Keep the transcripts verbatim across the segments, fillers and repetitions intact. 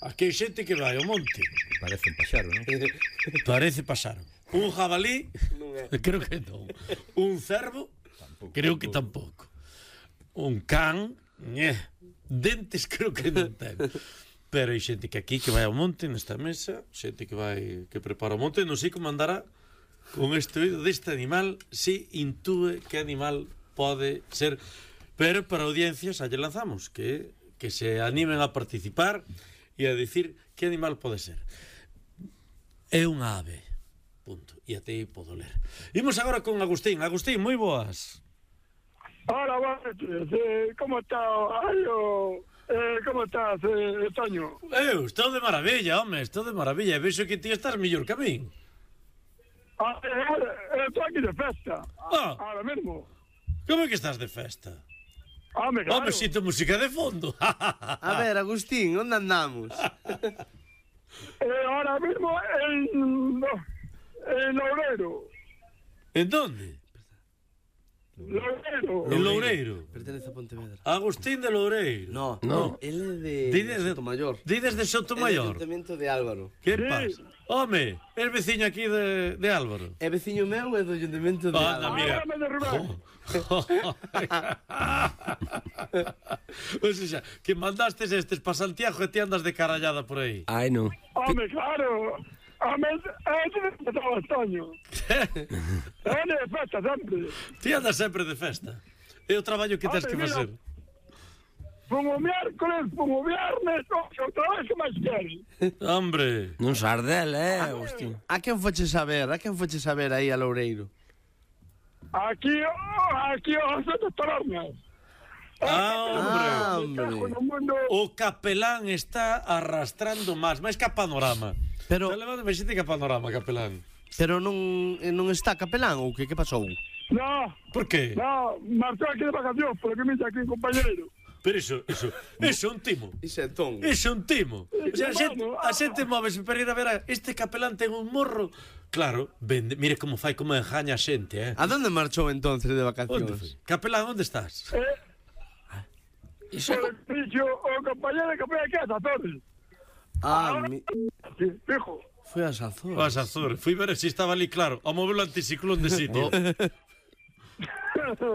Aquí hai xente que vai ao monte. Parece un paxaro, non? Parece paxaro. Un jabalí, creo que non. Un cervo, tampouco, creo que tampouco. Un can, eh. Dentes creo que non ten. Pero hai xente que aquí que vai ao monte nesta mesa, xente que vai que prepara o monte, non sei como andará con este oído deste animal, si intúe que animal pode ser. Pero para audiencias allá lanzamos que que se animen a participar e a dicir que animal pode ser. É unha ave. Punto. E até aí podo ler. Imos agora con Agustín. Agustín, moi boas. Hola, buenas noches. Eh, ¿Cómo está? Ayo, eh, ¿Cómo estás, eh, Toño? Eu, estou de maravilla, home, estou de maravilla. E vexo que ti estás mellor que a min. Ah, eh, estou aquí de festa. Ah. Ahora mismo. Como é que estás de festa? Home, claro. Home, sinto música de fondo. A ver, Agustín, onde andamos? eh, ahora mismo en... En Loureiro. En donde? Loureiro. En Loureiro. Pertenece a Pontevedra. Agustín de Loureiro. No, no. Él é de, Dides de Sotomayor. Dides de Sotomayor. É do Ayuntamiento de Álvaro. Que Sí. pasa? Home, é veciño aquí de, de Álvaro. É veciño meu e do Ayuntamiento de Anda, Álvaro. mira. Háblame de Rubén. O sea, que mandastes estes pa Santiago e te andas de carallada por aí. Ai, non. Home, claro. Home, é de todo Toño. É de festa sempre. Ti andas sempre de festa. É o traballo que tens Home, que mira. facer. Como miércoles, como viernes, outra vez que máis queres. Hombre. Non sardel, eh, Agustín. A quen foche saber? A quen foche saber aí a Loureiro? Aquí, oh, aquí os outros tabernas. Ah, hombre. No mundo... O capelán está arrastrando máis, máis que a Panorama. Pero- Está levando máis xente que a Panorama, capelán. Pero non non está capelán ou que que pasou? No, Por qué? no, marchou aquí de vacacións, porque me dice aquí un compañeiro. Pero iso, iso, iso é un timo. Iso é ton. Iso é un timo. O sea, a xente, a xente móvese para ir a ver a este capelán ten un morro. Claro, vende, mire como fai, como engaña a xente, eh. A donde marchou entonces de Onde vacacións? foi? Capelán, onde estás? Eh, Iso pero dixo o compañero que foi aquí a Azores. Ah, mi... Sí, fijo. foi a Azores. Vas a Azores. Fui ver se estaba ali, claro, o móvil anticiclón de sitio.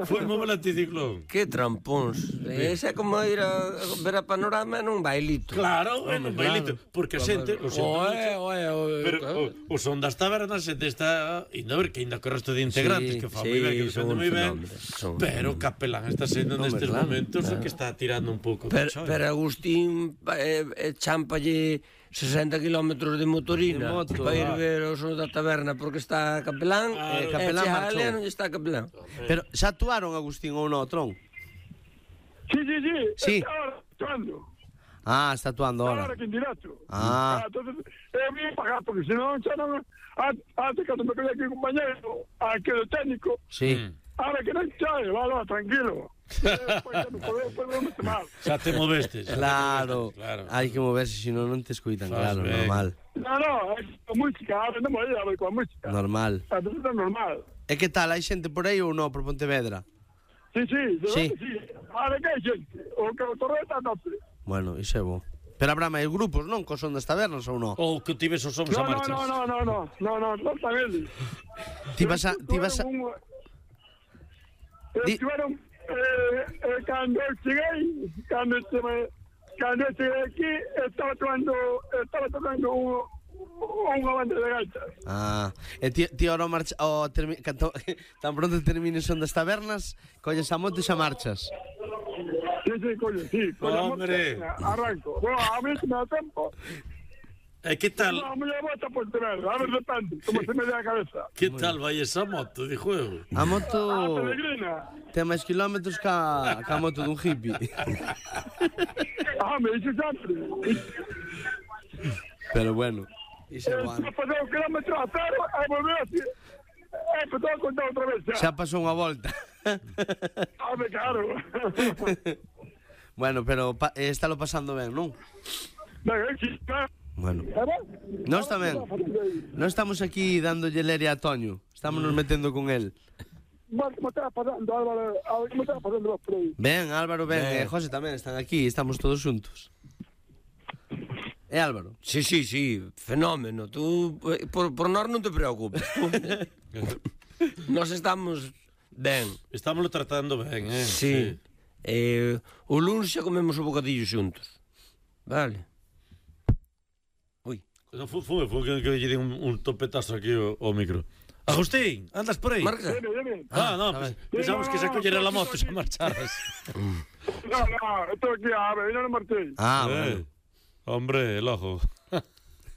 Foi o móvil anticiclón. Que trampóns. Ese é como ir a ver a Panorama nun bailito. Claro, é un bailito. Porque a xente... O Oe, oe, oe. Pero o, o son das tabernas a xente está indo a ver que ainda co resto de integrantes Sí, que fa sí, moi ben, que son defende un moi ben. fenómeno, son un Pero fenómeno. capelán está sendo Hombre, nestes claro, momentos o que está tirando un pouco. Pero, de pero Agustín eh, eh, chámpalle sesenta kilómetros de motorina De moto, para ir ah. ver o son da taberna porque está capelán Ah, e capelán capelán marchou. non está capelán. Pero xa actuaron, Agustín, ou non, Tron? Sí, sí, sí. Sí. Ahora, actuando. Ah, está actuando Ahora ahora. que en directo. Ah. Entonces, é bien pagar, porque senón, xa non... Antes, cando me quedé aquí un compañero, aquí do técnico, Sí. ahora que non chae, vale, tranquilo. Despois xa non podemos, podemos meter mal. Xa te movestes. xa te Claro. movestes, claro. Hai que moverse, senón non te escuitan, Faz claro, ben. normal. No, no, é con música, ahora non me ir a ver con música. Normal. Entonces é normal. E que tal, hai xente por aí ou non, por Pontevedra? Sí, sí, de Sí. verdade, sí. Ahora que hai xente, o que o torreta non sei. Bueno, iso é bo. Pero habrá máis grupos, non? Co son das tabernas ou non? Ou que tives os sons No, a no, marchas. no, no, no, no, no, no, non están eles. Ti vas a... Ti vas a... Un- Di- Estiveron, eh, eh, cando eu cheguei, cando estive, cando eu cheguei aquí, estaba tocando, estaba tocando un, unha banda de gaitas. Ah, e ti, ti ora marcha, o termi, canto, tan pronto termine son das tabernas, colles a moto e xa marchas. Sí, sí, coño, sí. Coño, Hombre. arranco. Bueno, a mí se me da tempo. E que tal? No, me llevo hasta Pontevedra, a ver depende, como se me dé a cabeza. Que tal vai esa moto de juego? A Ah, moto peregrina. ten máis kilómetros ca, ca moto dun hippie. Ah, me dice sempre. Pero bueno, iso é Eh, bueno. Se pasou un kilómetro a cero, e volver así. E pues todo a contar outra vez xa. Xa pasou unha volta. Ah, me claro. Bueno, pero pa, eh, estálo pasando ben, non? Venga, eh, sí, claro. Bueno. Eh, va? Nós tamén. Non estamos aquí dándolle leria a Toño. Estamos nos metendo con el. Bueno, como estaba pasando, Álvaro, a ver, como estaba pasando los por aí. Ben, Álvaro, ben, Ben. e José tamén están aquí, estamos todos xuntos. É Álvaro? Sí, sí, sí, fenómeno. Tú, por, por nós non te preocupes. Tú. Nós estamos ben. Estámoslo tratando ben, eh? Sí. Eh, o lunes xa comemos o bocadillo xuntos. Vale. Ui. No, foi, foi, foi que, que lle di un, un topetazo aquí ao, ao micro. Agustín, andas por aí? Marca. Dime, dime. Ah, no, pues, pensamos que se collera la moto se marcharas. No, no, estoy aquí, a ver, yo no marché. Ah, Eh, bueno. Hombre, el ojo.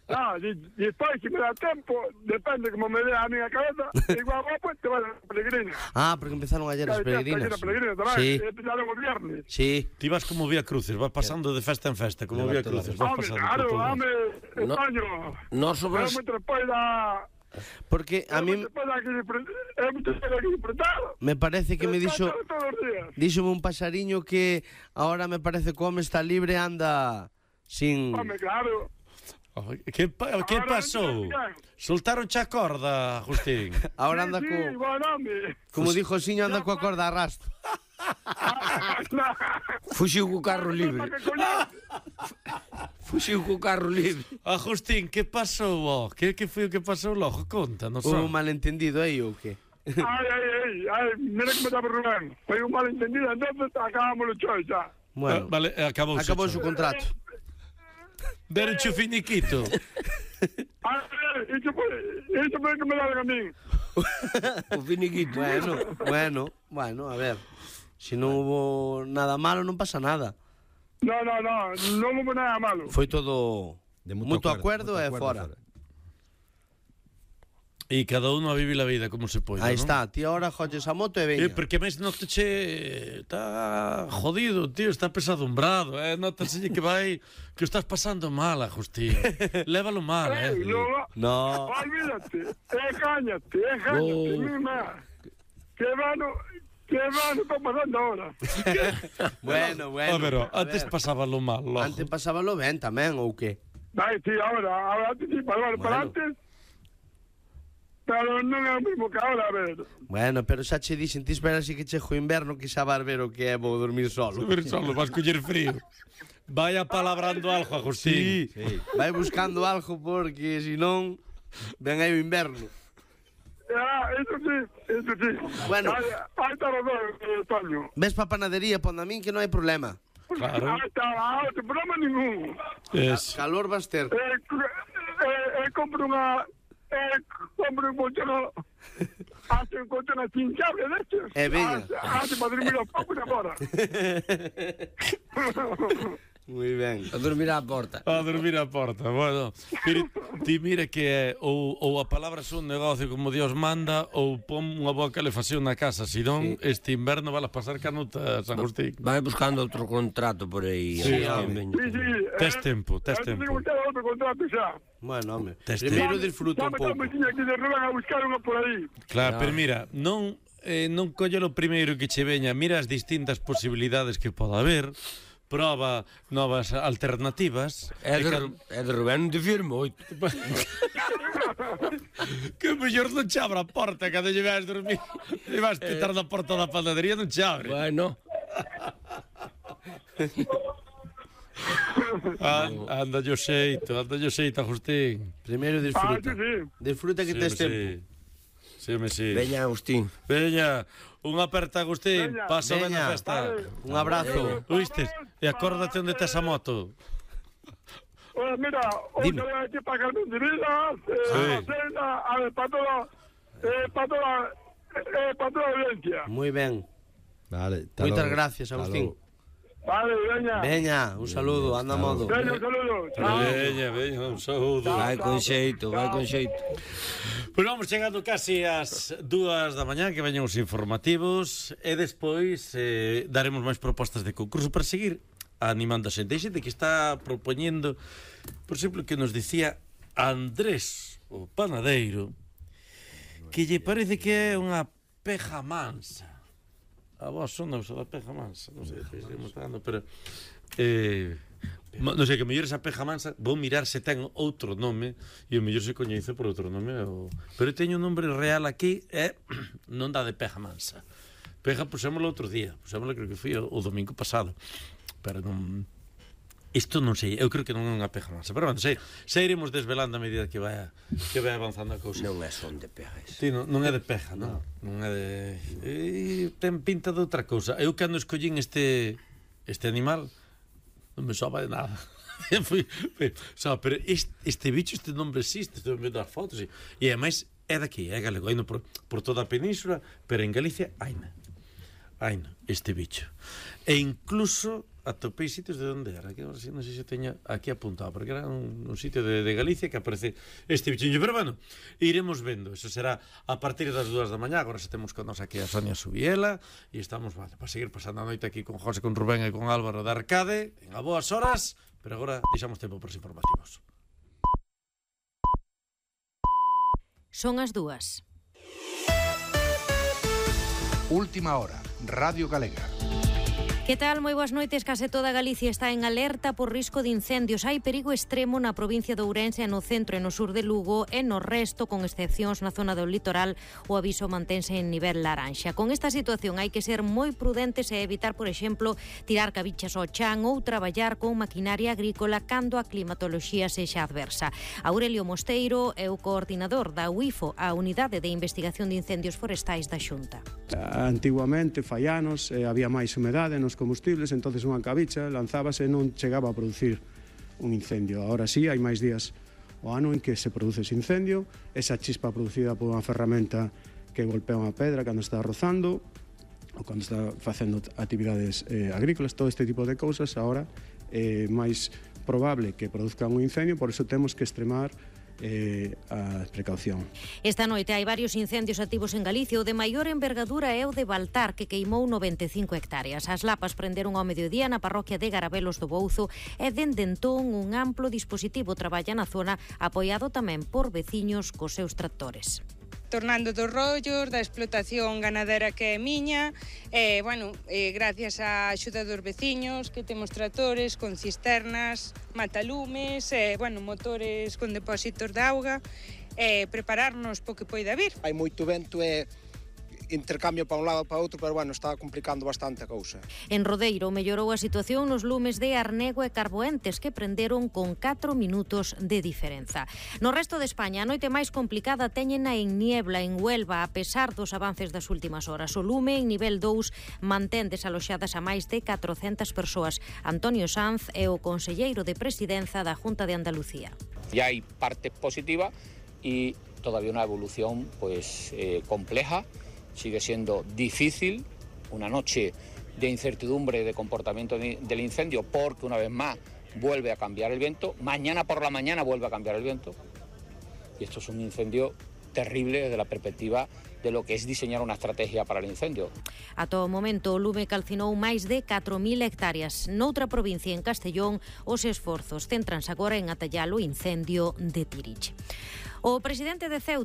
No, y, y después, si me da tiempo, depende como me dé a mi cabeza, igual vos, pues te vas a la peregrina. Ah, porque empezaron ayer as peregrinas. La peregrina también, Sí, empezaron el viernes. sí. Ti vas como Vía Cruces, vas pasando de festa en festa, como Vía Cruces, vas Hombre, pasando claro, por todo. hombre, No. España. Nós sobre Es mucho después da... Porque a mí Es mucho después de disfrutar. me parece que me dixo Todos los días. díxome un pasariño que ahora me parece que o home está libre anda sin... Hombre, claro. Ay, Que, pa, que Ahora pasou? non te Soltaron xa corda, Agustín. Ahora Sí, anda sí, co... bueno, hombre. Como dijo o Xiño, anda coa corda a rastro. fuxiu co carro libre. ¿Para qué coño? Fuxiu co carro libre. Agustín, que pasou? Oh? Que, que foi o que pasou logo? Contanos. Un oh. malentendido aí ou que? Ay, ay, ay, ay, mira que me está por Rubén. Fue un malentendido, entonces acabamos los shows ya. Ah, Bueno, vale, acabou acabou o contrato. Deron o finiquito. Ay, ay, eso fue, eso fue que me da a mí. O finiquito. Bueno, bueno, bueno, a ver. Si non hubo nada malo, non pasa nada. No, no, no, no hubo nada malo. Foi todo De mutuo acuerdo, mutuo e acuerdo, fora. E cada uno a vive a vida como se pode, Aí non? está, ti ahora joches a moto e Eh, veña. porque máis noto che está jodido, tío, está pesadumbrado, eh, notaselle que vai que o estás pasando mal, Agustín. Lévalo mal, eh. Ey, no, No, olvídate, eh, cállate, eh, cállate, Oh. mima. Que vano, que vano está pasando ahora. bueno, bueno. Ah, pero a antes ver, pasábalo mal, logo. antes pasábalo ben tamén, ou que? Ay, sí, ahora, ahora antes sí, para, para Bueno. antes. Pero non é o mismo que ahora, a ver. Bueno, pero xa che dixen, ti espera así que chego o inverno que xa vas ver o que é vou dormir solo. Ver solo, vas coller frío. Vaya palabrando algo, Agustín. Sí, vai buscando algo porque si non ven aí o inverno. Ah, eso sí, eso sí. Bueno. Ahí, ahí está razón, eh, Toño. Ves pa panadería, pon a min que non hai problema. Claro. Ahí está, ah, no problema ningún. Es. Calor vas ter. Eh, eh, eh, compro unha... Eh, compro un colchón... Hace un colchón hinchable de estos. Eh, veña. Hace para dormir los pocos de fora. Moi ben. A dormir á porta. A dormir a porta. Bueno, pero ti mira que é ou, ou a palabra son un negocio como Dios manda ou pon unha boa calefacción na casa, senón Sí. este inverno vas a pasar canutas, Agustín. Vai buscando outro contrato por aí. Sí, eh, home. veña. Sí, sí. Tes eh, tempo, tes eh, tempo. Tengo que otro contrato ya. Bueno, home. Tes Primeiro tempo. disfruta un pouco. Ya me aquí de Rubén a buscar unha por aí. Claro, Claro. pero mira, non eh, non colle o primeiro que che veña, mira as distintas posibilidades que poda haber, proba novas alternativas. É e de, cal- é de Rubén, non te firmo moito. Que mellor non che abra a porta cando lle vas dormir e vas pitar na porta da panadería, non che abre. Bueno, An, anda yo xeito, anda yo xeito, Agustín. Primeiro Ah, disfruta. sí, sí. Disfruta que tes tempo. Sí, me sí. veña Agustín. Veña, unha aperta, Agustín. Veña. Paso ben Veña. a festa. Un abrazo. Oístes? E acórdate onde tes a moto. Oye, mira, hoy Dime. voy aquí para Carmen de Vidas, eh, Sí. a cena, a ver, para toda, eh, para toda, eh, para toda la audiencia. Moi ben. Vale, hasta Moitas logo. gracias, Hasta Agustín. logo. Vale, veña. Veña, un saludo, anda a modo. Veña, un saludo. Chao. Veña, veña, un saúdo. Vai con xeito, vai con xeito. Pois vamos chegando casi ás dúas da mañá, que veñen os informativos, e despois eh, daremos máis propostas de concurso para seguir animando a xente. Hai xente que está propoñendo, por exemplo, que nos dicía Andrés, o panadeiro, que lle parece que é unha peja mansa. A vos son da peja mansa, non sei se estamos falando, pero eh, ma- non sei, que mellor esa peja mansa vou mirar se ten outro nome e o mellor se coñece por outro nome o... pero teño un nombre real aquí e non dá de peja mansa. Peja pusémoslo outro día, pusémoslo creo que foi o, o domingo pasado, pero non... Isto non sei, eu creo que non é unha peja masa, pero bueno, sei, sei iremos desvelando a medida que vai que vai avanzando a cousa. Non é son de pejas. Sí, non, non é de peja, non? Non é de... E ten pinta de outra cousa. Eu cando escollín este este animal non me soba de nada. Fui, fui, so, pero este, este bicho, este nombre existe, estou vendo as fotos e, e ademais é daqui, é galego, hai no por, por toda a península, pero en Galicia haina. Haina, este bicho. E incluso atopei sitios de onde era, que non sei se teña aquí apuntado, porque era un, un sitio de, de Galicia que aparece este bicho. Pero bueno, iremos vendo, eso será a partir das dúas da mañá. Agora se temos con nos aquí a Sonia Subiela e estamos, vale, para seguir pasando a noite aquí con José, con Rubén e con Álvaro de Arcade en a boas horas, pero agora deixamos tempo para os informativos. Son as dúas. Última hora, Radio Galega. Que tal? Moi boas noites. Case toda Galicia está en alerta por risco de incendios. Hai perigo extremo na provincia de Ourense, no centro e no sur de Lugo, e no resto, con excepcións na zona do litoral, o aviso mantense en nivel laranxa. Con esta situación hai que ser moi prudentes e evitar, por exemplo, tirar cabichas ao chan ou traballar con maquinaria agrícola cando a climatoloxía sexa adversa. Aurelio Mosteiro é o coordinador da U I F O, a Unidade de Investigación de Incendios Forestais da Xunta. Antiguamente, fai anos, eh, había máis humedade nos combustibles, entonces unha cabicha lanzábase e non chegaba a producir un incendio. Ahora sí, hai máis días o ano en que se produce ese incendio, esa chispa producida por unha ferramenta que golpea unha pedra cando está rozando ou cando está facendo actividades eh, agrícolas, todo este tipo de cousas ahora é máis probable que produzcan un incendio, por iso temos que extremar Eh, a precaución. Esta noite hai varios incendios activos en Galicia. O de maior envergadura é o de Baltar, que queimou noventa e cinco hectáreas. As lapas prenderon ao mediodía na parroquia de Garabelos do Bouzo e dende entón un amplo dispositivo traballa na zona, apoiado tamén por veciños cos seus tractores. Tornando dos rollos, da explotación ganadera que é miña, e, bueno, e, gracias á axuda dos veciños, que temos tractores con cisternas, matalumes, e, bueno, motores con depósitos de auga, e prepararnos po que poida vir. Hai moito vento e intercambio para un lado e para outro, pero bueno, está complicando bastante a cousa. En Rodeiro mellorou a situación nos lumes de Arnego e Carboentes, que prenderon con catro minutos de diferenza. No resto de España, a noite máis complicada teñena en Niebla, en Huelva, a pesar dos avances das últimas horas. O lume en nivel dous mantén desaloxadas a máis de catrocentas persoas. Antonio Sanz é o conselleiro de Presidenza da Junta de Andalucía. Ya hai parte positiva y todavía una evolución pues eh, compleja. Sigue siendo difícil, una noche de incertidumbre de comportamiento de, del incendio, porque una vez más vuelve a cambiar el viento, mañana por la mañana vuelve a cambiar el viento, y esto es un incendio terrible desde la perspectiva de lo que es diseñar unha estrategia para el incendio. A todo momento, o lume calcinou máis de catro mil hectáreas. Noutra provincia, en Castellón, os esforzos céntranse agora en atallar o incendio de Tirich. O presidente de Ceuta